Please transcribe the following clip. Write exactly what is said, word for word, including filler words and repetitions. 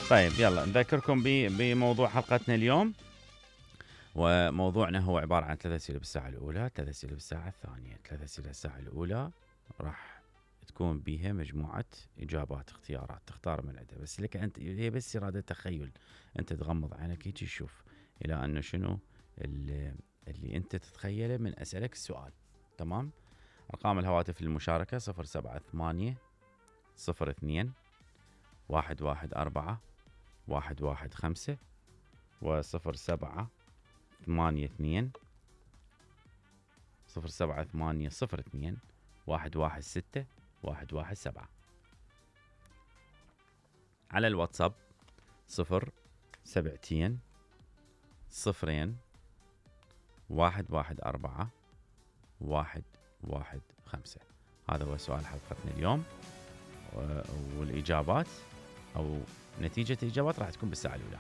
طيب يلا نذكركم بموضوع حلقتنا اليوم، وموضوعنا هو عبارة عن ثلاث أسئلة بالساعة الأولى، ثلاث أسئلة بالساعة الثانية. ثلاث أسئلة بالساعة الأولى راح تكون بيها مجموعة إجابات اختيارات تختار من عندها، بس لك أنت هي بس إرادة تخيل، أنت تغمض عينك هيك تشوف إلى أنه شنو اللي, اللي أنت تتخيله من أسألك السؤال. تمام. أرقام الهواتف للمشاركة صفر سبعة ثمانية صفر اثنين واحد واحد أربعة واحد واحد خمسة وصفر سبعة ثمانية اثنين صفر سبعة ثمانية صفر اثنين واحد واحد ستة واحد واحد سبعة. على الواتساب صفر سبعتين صفرين واحد واحد أربعة واحد واحد خمسة. هذا هو سؤال حلقتنا اليوم، والإجابات أو نتيجة الإجابات راح تكون بالساعة الأولى.